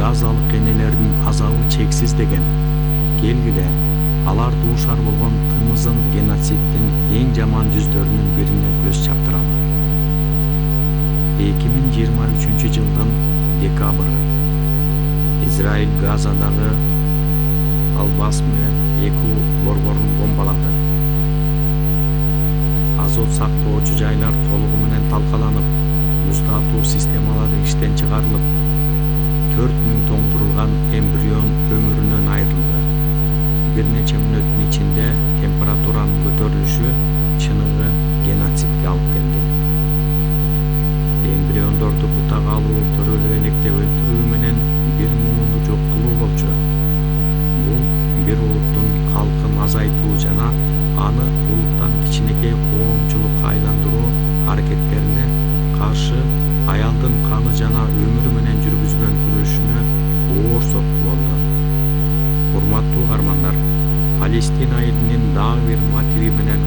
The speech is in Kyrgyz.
газалык энелердин азабы чексиз деген. Келгиле, алар дуушар болгон тымызын геноциддин эң жаман жүздөрүнүн бирине көз чаптыралы. 2023 жылдын декабры. Израиль Газадагы Ал-Басме 2 борборун бомбалады. Азот сактоочу жайлар толугу менен талкаланып, муздатуу системалары иштен чыгарылып, 4000 тоңдурулган эмбрион өмүрүнөн айрылды. Бир нече мүнөттүн ичинде температуранын көтөрүлүшү чыныгы геноцидке алып келди. Эмбриондорду бутага алуу, төрөлүп электеп өлтүрүү менен бир муунду жок кылуу болчу. Бул бир улуттун калкын азайтуу жана аны улуттан кичинекей коомчулукка айландыруу аракеттерине каршы аялдын каны жана өмүрү менен жүргүзгөн күрөшүнө оор сокку болду. Урматтуу каармандар, Палестина элинин дагы бир мотиви менен